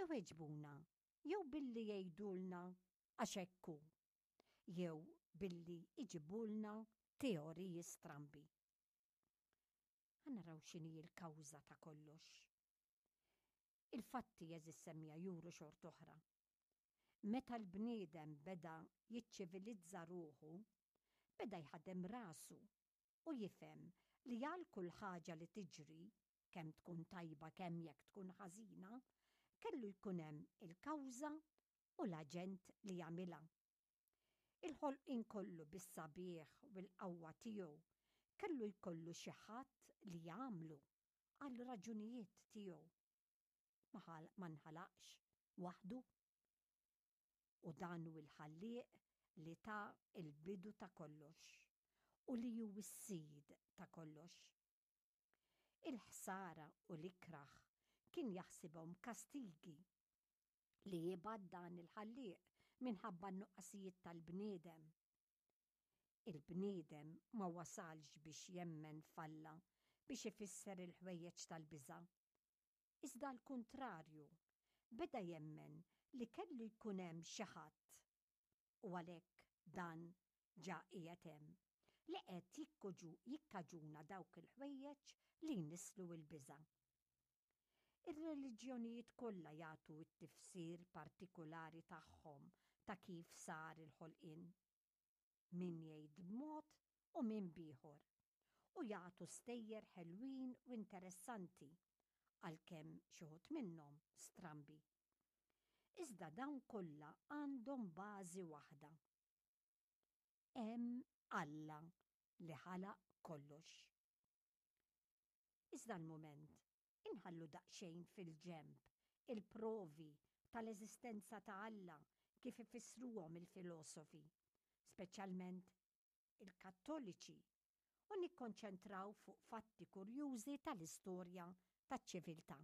Iweġbuna jew billi jgħidulna għax hekk hu, jew billi jġibulna teoriji strambi. Ħa naraw x'inhi l-kawża ta' kollox. Il-fatti għeżież semmiegħa juru xort'oħra. Meta l-bniedem beda jiċċivilizza ruħu, beda jħaddem rasu u jifhem li għal kull ħaġa li tiġri, kemm tkun tajba kemm jekk tkun ħażina, kellu jkun hemm il-kawża u l-aġent li jagħmilha. Il-ħolqien kollu bis-sabiħ u l-qawwa tiegħu kellu jkollu xi ħadd li jagħmlu għal raġunijiet tiegħu. Ma ma nħalaqx waħdu. U dan hu l-Ħallieq li ta l-bidu ta' kollox u li hu s-Sid ta' kollox. Il-ħsara u l-ikrah kien jaħsibhom kastigi li jibgħat dan il-Ħallieq minħabba n-nuqqasijiet tal-bniedem. Il-bniedem ma wasalx biex jemmen f'Alla biex ifisser il-ħwejjeġ tal-biża'. Iżda għall-kuntrarju, beda jemmen li kellu jkun hemm xi ħadd, u għalhekk dan ġa qiegħed hemm, li qed jikkaġuna dawk il-ħwejjeġ li jnisslu l-biża'. Ir-reliġjonijiet kollha jagħtu t-tifsir partikulari tagħhom ta' kif sar il-ħolqien. Min jgħid b'mod u min b'ieħor. U jagħtu stejjer ħelwin u interessanti, għalkemm xi wħud minnhom strambi. Iżda dawn kollha għandhom bażi waħda. Hemm Alla li ħalaq kollox. Iżda l-mument inħallu daqsxejn fil-ġenb il-provi tal-eżistenza ta' Alla kif ifissruhom il-filosofi, speċjalment il-Kattoliċi, u nikkonċentraw fuq fatti kurjużi tal-istorja taċ-ċiviltà.